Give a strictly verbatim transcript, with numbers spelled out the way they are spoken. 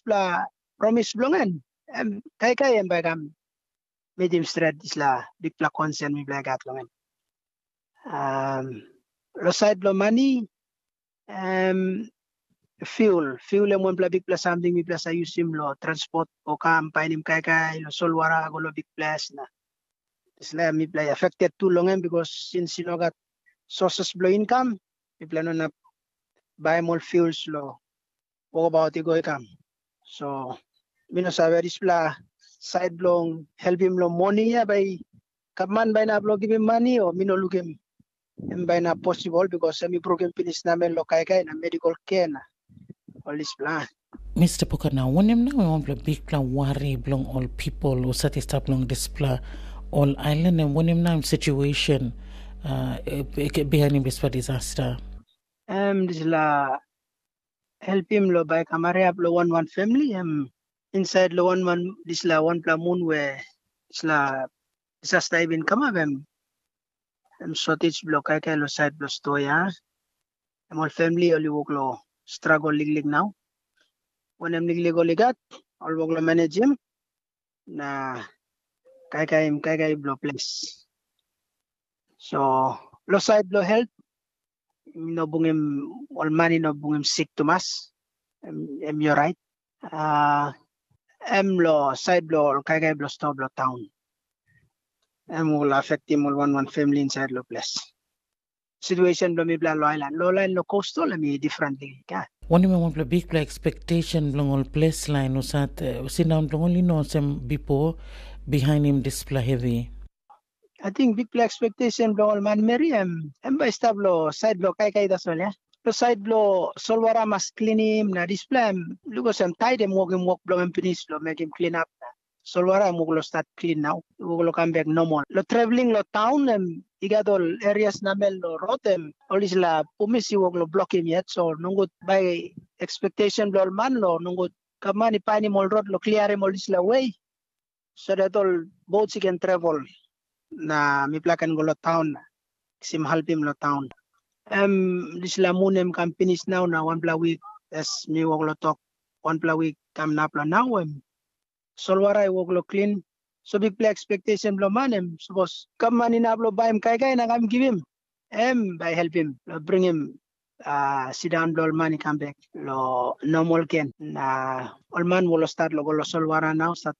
dispela promis bilong en, em kaikai em bai kam mitim stret dispela bikpela konsen mipela i gat long en. Um, lo sait bilong mani, um, fuel. Fuel em wanpela bikpela samting mipela sa yusim lo transport o kam painim kaikai lo solwara go lo bikples na dispela mipela affected tu long em because since i no gat sources bilong income, mipela no inap baim ol fuels lo wokabaut i go i kam. So mi no save dispela sait bilong helpim long moni ya bai gavman bai inap long givim mani o mi no lukim em bai inap posibel because em i brukim pinis namel long kaikai na medical care na ol dispela. Mista Poka, na wanem nau wanpela bikpela wari bilong ol pipel husat i stap long dispela ol ailan, em wanem nau situation uh, bihainim dispela disaster? Em dispela helpim lo bai kamariap lo wan wan famili em insait lo wan wan dispela wanpela mun we dispela disaster i bin kamap em em shortage bilong kaikai lo sait bilong sto ya. Em ol famili ol i wok lo struggle liklik nau. Wanem liklik ol i gat, ol wok lo managim na kaikaim kaikai bilong ples. So lo sait bilong helt, no bungim ol mani no bungim sik tumas, em, em i orait. Uh, em lo sait bilong ol kaikai bilong sto bilong taun. Em ol afektim ol wan wan famili insait lo ples. Situation bilong mipela lo ailan, lo lain lo coastal em i differently. Yeah. Wanem em wanpela bikpela expectation bilong ol ples lain husat uh, sindaun bilong ol i no olsem bipo bihainim dispela hevi? I think bikpela expectation bilong ol manmeri em em bai i stap lo sait bilong kaikai tasol ya. Lo sait bilong solwara mas klinim na dispela em lukos em tait em wokim wok bilong em pinis lo mekim klin ap na solwara em wok lo stat klin nau, wok lo kam bek normal. Lo traveling lo taun em i gat ol erias namel lo rot em ol dispela pumis i wok lo blokim yet, so nogut bai expectation bilong ol man lo nogut gavman i painim ol rot lo kliarim ol dispela we so that ol boats i ken travel na mipela ken go lo taun na kisim helpim lo taun. Em dispela mun em kam pinis nau na wanpela wik as mi wok lo tok wanpela wik kam nap lo nau em solwara i wok lo klin. So bikpela expectation bilong man em sapos gavman inap lo baim kaikai na kam givim em bai helpim lo bringim uh, sindaun bilong ol man i kam bek lo normal gen na ol man wok lo stat lo go lo solwara nau stat